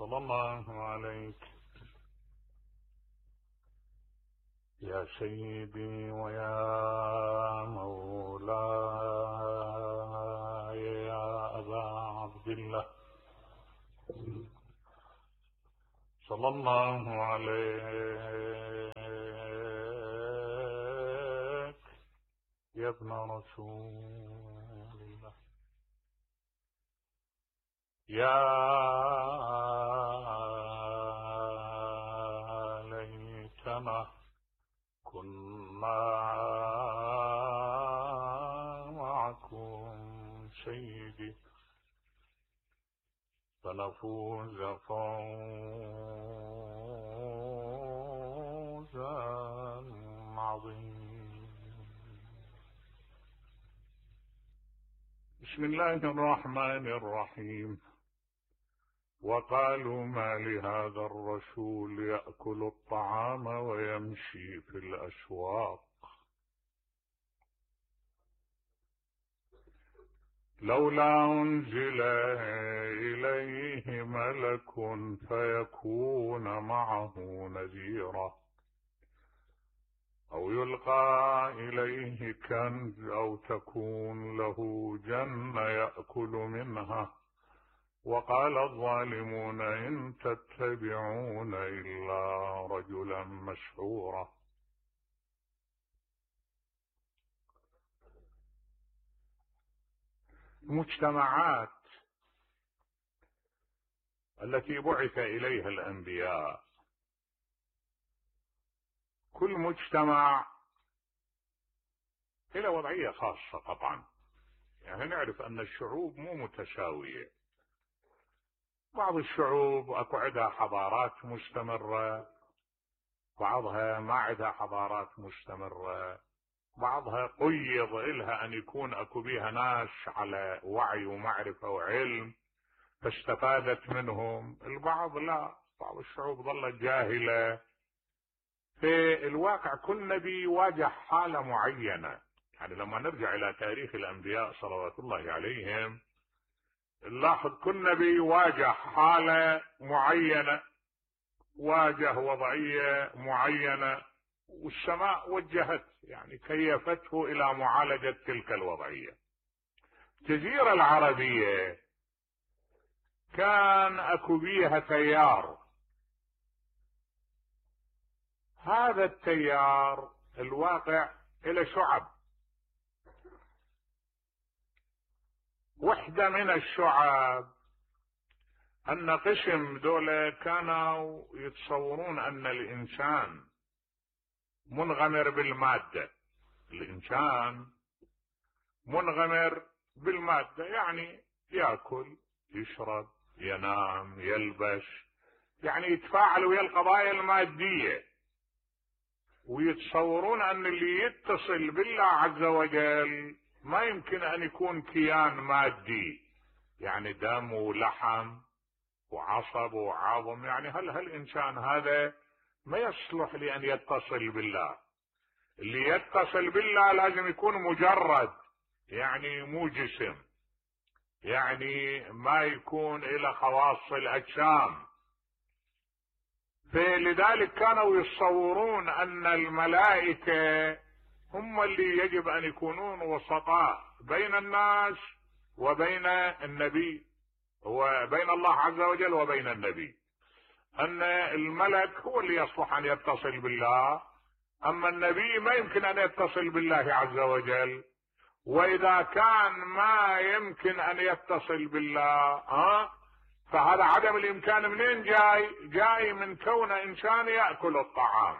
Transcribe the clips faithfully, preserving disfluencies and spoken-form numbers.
صلى الله عليك يا سيدي ويا مولاي يا أبا عبد الله، صلى الله عليك يا ابن رسول الله، يا ليتنا كنا معكم سيدي فنفوز فوزا عظيما. بسم الله الرحمن الرحيم. وقالوا ما لهذا الرسول يأكل الطعام ويمشي في الأسواق لولا أنزل إليه ملك فيكون معه نذيرا أو يلقى إليه كنز أو تكون له جنة يأكل منها. وقال الظالمون إن تتبعون إلا رجلا مسحورا. المجتمعات التي بعث إليها الأنبياء، كل مجتمع له وضعية خاصة طبعا، يعني نعرف أن الشعوب مو متساوية. بعض الشعوب اكو عندها حضارات مستمرة، بعضها ما عندها حضارات مستمرة، بعضها قيض إلها أن يكون أكو بيها ناس على وعي ومعرفة وعلم فاستفادت منهم، البعض لا، بعض الشعوب ظلت جاهلة. في الواقع كل نبي واجه حالة معينة، يعني لما نرجع إلى تاريخ الأنبياء صلوات الله عليهم نلاحظ كل نبي واجه حالة معينة، واجه وضعية معينة، والسماء وجهت يعني كيفته إلى معالجة تلك الوضعية. الجزيرة العربية كان أكو بيها تيار، هذا التيار الواقع إلى شعب، وحدة من الشعب أن قسم دولة كانوا يتصورون أن الإنسان منغمر بالمادة، الإنسان منغمر بالمادة، يعني يأكل يشرب ينام يلبس، يعني يتفاعل ويا القضايا المادية، ويتصورون أن اللي يتصل بالله عز وجل ما يمكن أن يكون كيان مادي، يعني دم ولحم وعصب وعظم، يعني هل هالإنسان هذا ما يصلح لأن يتصل بالله. اللي يتصل بالله لازم يكون مجرد، يعني مو جسم، يعني ما يكون إلى خواص الأجسام. فلذلك كانوا يتصورون أن الملائكة هم اللي يجب أن يكونون وسطاء بين الناس وبين النبي، وبين الله عز وجل وبين النبي، أن الملك هو اللي يصلح أن يتصل بالله، أما النبي ما يمكن أن يتصل بالله عز وجل. وإذا كان ما يمكن أن يتصل بالله ها فهذا عدم الإمكان منين جاي؟ جاي من كون إنسان يأكل الطعام،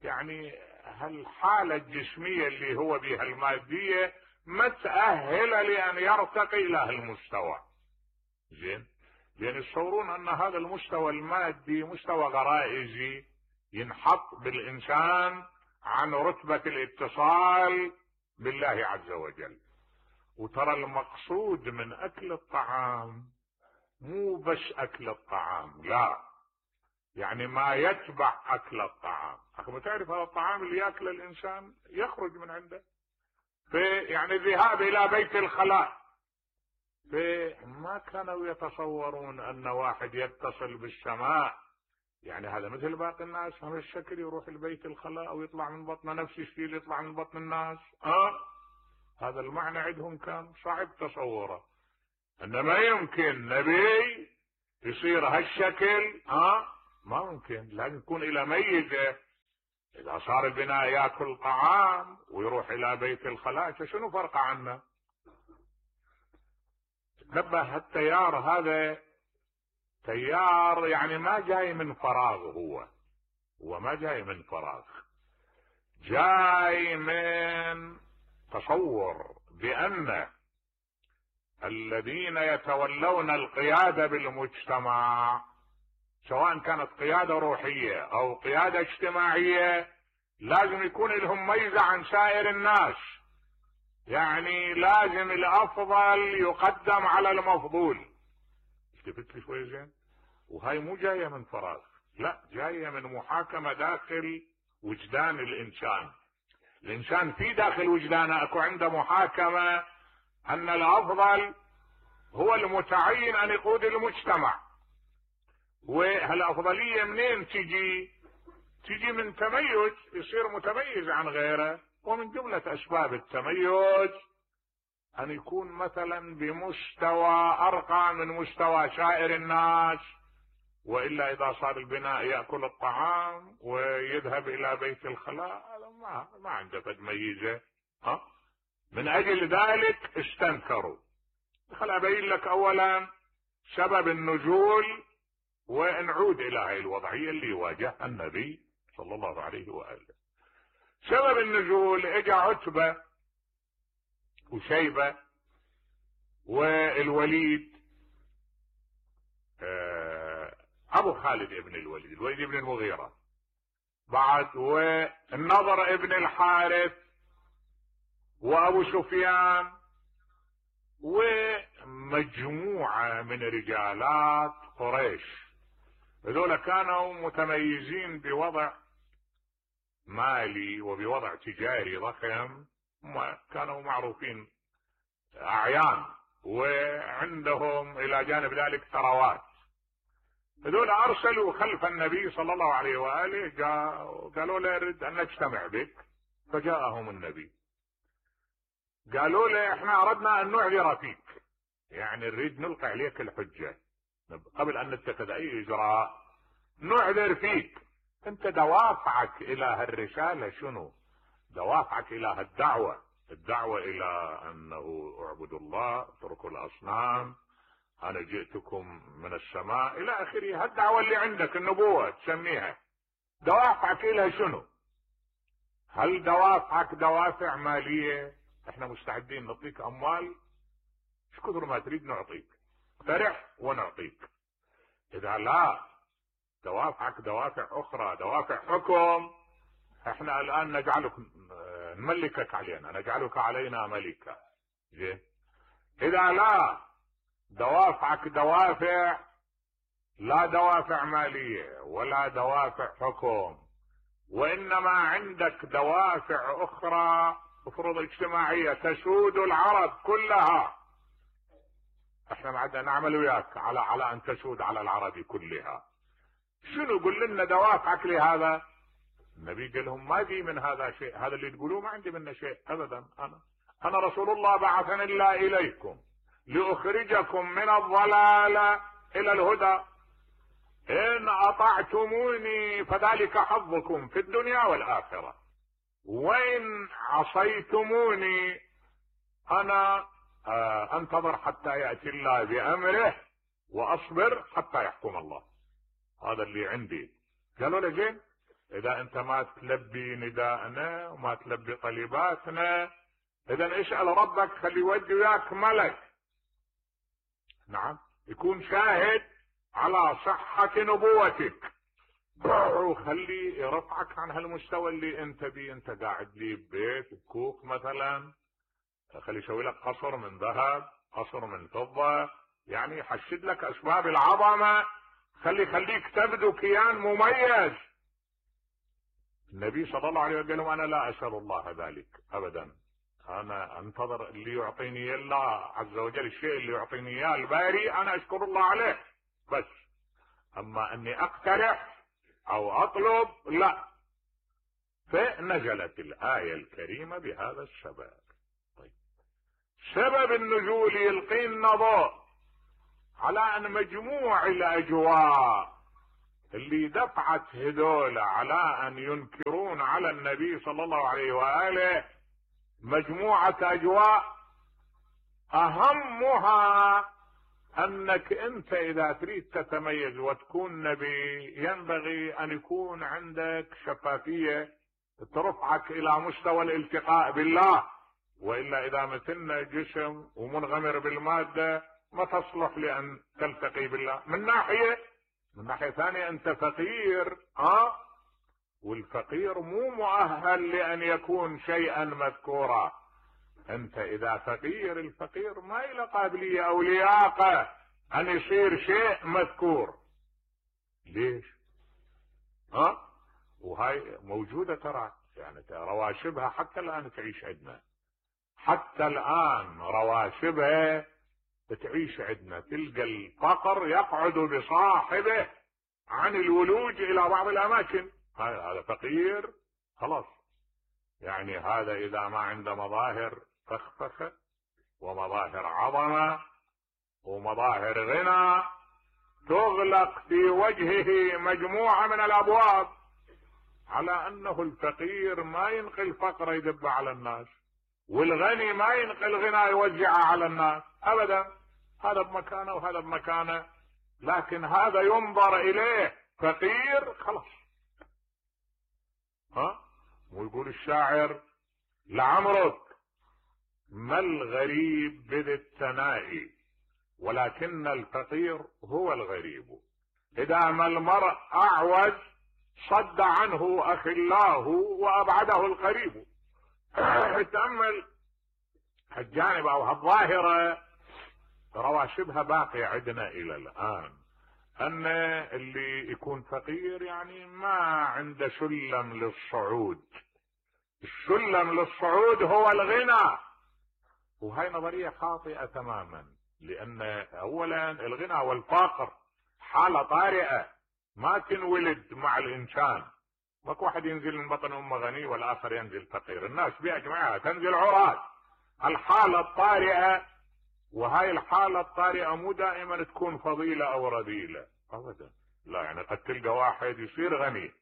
يعني هالحالة الجسمية اللي هو بها المادية ما تأهل لأن يرتقي إلى هالمستوى. زين، لأن يتصورون أن هذا المستوى المادي مستوى غرائزي ينحط بالإنسان عن رتبة الاتصال بالله عز وجل. وترى المقصود من أكل الطعام مو بس أكل الطعام، لا، يعني ما يتبع أكل الطعام. أخي تعرف هذا الطعام اللي يأكل الإنسان يخرج من عنده، في يعني الذهاب إلى بيت الخلاء فما كانوا يتصورون ان واحد يتصل بالسماء يعني هذا مثل باقي الناس هم الشكل يروح البيت الخلاء او يطلع من بطنه نفس الشيء اللي يطلع من بطن الناس. اه هذا المعنى عندهم كان صعب تصوره، انما يمكن نبي يصير هالشكل. اه ما ممكن، لازم يكون الى ميزه. اذا صار البناء ياكل طعام ويروح الى بيت الخلاء شنو فرق عنه؟ نبه التيار هذا تيار يعني ما جاي من فراغ، هو هو ما جاي من فراغ، جاي من تصور بأن الذين يتولون القيادة بالمجتمع سواء كانت قيادة روحية او قيادة اجتماعية لازم يكون لهم ميزة عن سائر الناس، يعني لازم الافضل يقدم على المفضول. التفت لي شوي زين. وهاي مو جاية من فراغ، لا جاية من محاكمة داخل وجدان الانسان. الانسان في داخل وجدانه اكو عنده محاكمة ان الافضل هو المتعين ان يقود المجتمع. وهالافضلية منين تجي؟ تجي من تميز، يصير متميز عن غيره. ومن جملة اسباب التميز ان يكون مثلا بمستوى ارقى من مستوى سائر الناس، والا اذا صار البناء ياكل الطعام ويذهب الى بيت الخلاء هذا ما ما عنده فد ميزه. ها من اجل ذلك استنكروا. خل ابين لك اولا سبب النزول ونعود الى هاي الوضعيه اللي واجهها النبي صلى الله عليه واله. سبب النزول اجى عتبه وشيبه والوليد ابو خالد ابن الوليد، الوليد ابن المغيرة بعد، والنضر ابن الحارث وابو سفيان ومجموعة من رجالات قريش. هذول كانوا متميزين بوضع مالي وبوضع تجاري ضخم، كانوا معروفين اعيان وعندهم الى جانب ذلك ثروات. هذول ارسلوا خلف النبي صلى الله عليه واله، قالوا له نريد ان نجتمع بك. فجاءهم النبي قالوا له احنا اردنا ان نعذر فيك، يعني نريد نلقي عليك الحجه قبل ان نتخذ اي اجراء، نعذر فيك. انت دوافعك الى هالرساله شنو؟ دوافعك الى هالدعوه، الدعوه الى انه اعبدوا الله اتركوا الاصنام انا جئتكم من السماء الى اخره. هالدعوه اللي عندك النبوه تسميها، دوافعك الى شنو؟ هل دوافعك دوافع ماليه؟ احنا مستعدين نعطيك اموال ايش كثر ما تريد نعطيك، فرح ونعطيك. اذا لا دوافعك دوافع اخرى، دوافع حكم، احنا الان نجعلك نملكك علينا، نجعلك علينا ملكا. زين. اذا لا دوافعك دوافع لا دوافع مالية ولا دوافع حكم، وانما عندك دوافع اخرى افرض اجتماعية تسود العرب كلها، احنا ما عندنا نعمل وياك على على ان تسود على العرب كلها. شنو؟ قل لنا دوافعك لهذا. النبي قال لهم ما بي من هذا شيء، هذا اللي تقولوه ما عندي منه شيء ابدا. انا انا رسول الله بعثني الله اليكم لأخرجكم من الضلال إلى الهدى، إن أطعتموني فذلك حظكم في الدنيا والآخرة، وإن عصيتموني أنا أنتظر حتى يأتي الله بأمره وأصبر حتى يحكم الله. هذا اللي عندي. قالوا له زين، إذا أنت ما تلبي نداءنا وما تلبي طلباتنا إذا اسأل ربك خلي يودي وياك ملك، نعم، يكون شاهد على صحة نبوتك، وخلي يرفعك عن هالمستوى اللي انت بيه. انت قاعد لي ببيت بكوخ مثلا، خلي يسوي لك قصر من ذهب، قصر من فضة، يعني يحشد لك اسباب العظمة، خلي خليك تبدو كيان مميز. النبي صلى الله عليه وسلم قال انا لا اسأل الله ذلك ابدا، انا انتظر اللي يعطيني الله عز وجل، الشيء اللي يعطيني اياه الباري انا اشكر الله عليه بس. اما اني اقترح او اطلب لا. فنزلت الايه الكريمه بهذا السبب. طيب سبب النزول يلقي لنا ضوء على ان مجموع الاجواء اللي دفعت هذول على ان ينكرون على النبي صلى الله عليه واله مجموعه اجواء اهمها انك انت اذا تريد تتميز وتكون نبي ينبغي ان يكون عندك شفافيه ترفعك الى مستوى الالتقاء بالله، والا اذا مثلنا جسم ومنغمر بالماده ما تصلح لان تلتقي بالله. من ناحيه من ناحيه ثانيه انت فقير، اه والفقير مو مؤهل لان يكون شيئا مذكورا. انت اذا فقير، الفقير ما له قابليه او لياقه ان يصير شيء مذكور. ليش؟ ها؟ وهاي موجوده ترى، يعني رواشبها حتى الان تعيش عندنا، حتى الان رواشبها تعيش عندنا. تلقى الفقر يقعد بصاحبه عن الولوج الى بعض الاماكن. هذا فقير خلاص، يعني هذا اذا ما عنده مظاهر فخفخه ومظاهر عظمه ومظاهر غنى تغلق في وجهه مجموعه من الابواب، على انه الفقير ما ينقل الفقر يدب على الناس، والغني ما ينقل غنى يوزعه على الناس ابدا. هذا بمكانه وهذا بمكانه، لكن هذا ينظر اليه فقير خلاص. ها؟ ويقول الشاعر: لعمرك ما الغريب بذي الثناء ولكن الفقير هو الغريب، اذا ما المرء اعوز صد عنه اخلاه وابعده القريب. تأمل الجانب او الظاهرة رواشبها باقية عندنا الى الان، ان اللي يكون فقير يعني ما عنده سلم للصعود. السلم للصعود هو الغنى، وهي نظرية خاطئة تماما، لان اولا الغنى والفقر حالة طارئة ما تنولد مع الانسان. ماكو واحد ينزل من بطن امه غني والاخر ينزل فقير، الناس باجمعها تنزل عراة. الحالة الطارئة، وهاي الحالة الطارئة مو دائما تكون فضيلة او رذيلة ابدا، لا. يعني قد تلقى واحد يصير غني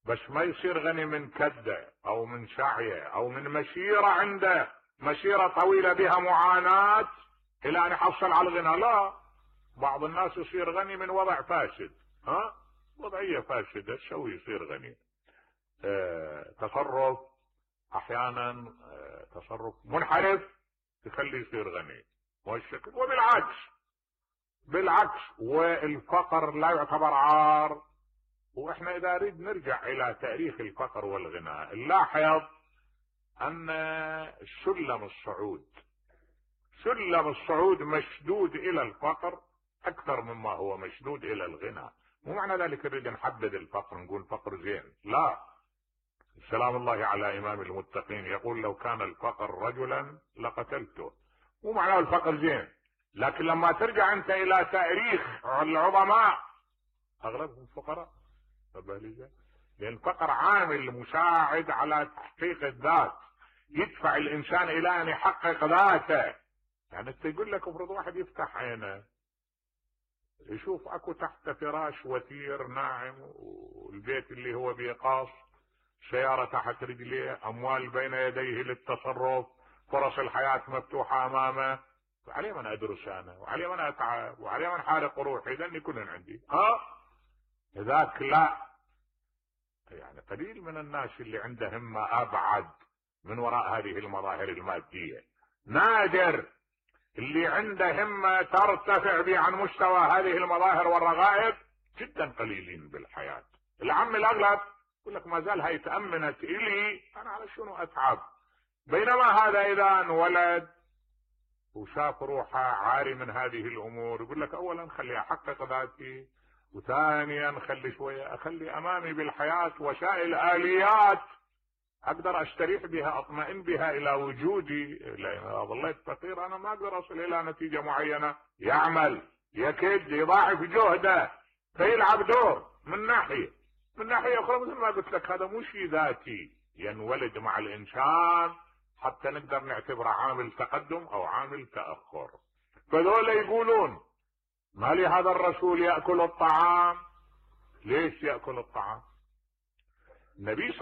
بس ما يصير غني من كده او من سعيه او من مسيرة عنده مسيرة طويلة بها معاناة الى ان يحصل على الغنى، لا. بعض الناس يصير غني من وضع فاسد، ها، وضعية فاسدة تسوي يصير غني. اه تصرف احيانا اه تصرف منحرف تخليه يصير غني، والشكل وبالعكس بالعكس. والفقر لا يعتبر عار. واحنا اذا نريد نرجع الى تاريخ الفقر والغنى نلاحظ ان سلم الصعود سلم الصعود مشدود الى الفقر اكثر مما هو مشدود الى الغنى. مو معنى ذلك نريد نحدد الفقر نقول فقر زين، لا. سلام الله على امام المتقين يقول: لو كان الفقر رجلا لقتلته. مو معناه الفقر زين، لكن لما ترجع انت الى تاريخ العظماء اغلبهم فقراء. لان الفقر عامل مساعد على تحقيق الذات، يدفع الانسان الى ان يحقق ذاته. يعني انت يقول لك افرض واحد يفتح عينه يشوف اكو تحت فراش وثير ناعم، والبيت اللي هو بيقاص، سيارة تحت رجليه، اموال بين يديه للتصرف، فرص الحياة مفتوحة امامه. عليه من ادرس انا، وعليه من اتعب، وعليه من حارق روحي، لاني كلن عندي. ها ذاك لا. يعني قليل من الناس اللي عنده همة ابعد من وراء هذه المظاهر المادية، نادر اللي عنده همة ترتفع به عن مستوى هذه المظاهر والرغائب، جدا قليلين بالحياة. العم الاغلب يقول لك ما زال هاي تأمنت الي، انا على شنو اتعب؟ بينما هذا اذا انولد وشاف روحه عاري من هذه الامور يقول لك اولا خلي احقق ذاتي، وثانيا خلي شوية اخلي امامي بالحياة وسائل اليات اقدر استريح بها، اطمئن بها الى وجودي. لان ظليت فقير انا ما اقدر اصل الى نتيجه معينه. يعمل، يكد، يضاعف جهده، فيلعب دور من ناحيه. من ناحيه اخرى مثل ما قلت لك هذا مو شيء ذاتي، ينولد مع الانسان حتى نقدر نعتبره عامل تقدم او عامل تاخر. فذولا يقولون ما لي هذا الرسول ياكل الطعام. ليش ياكل الطعام؟ النبي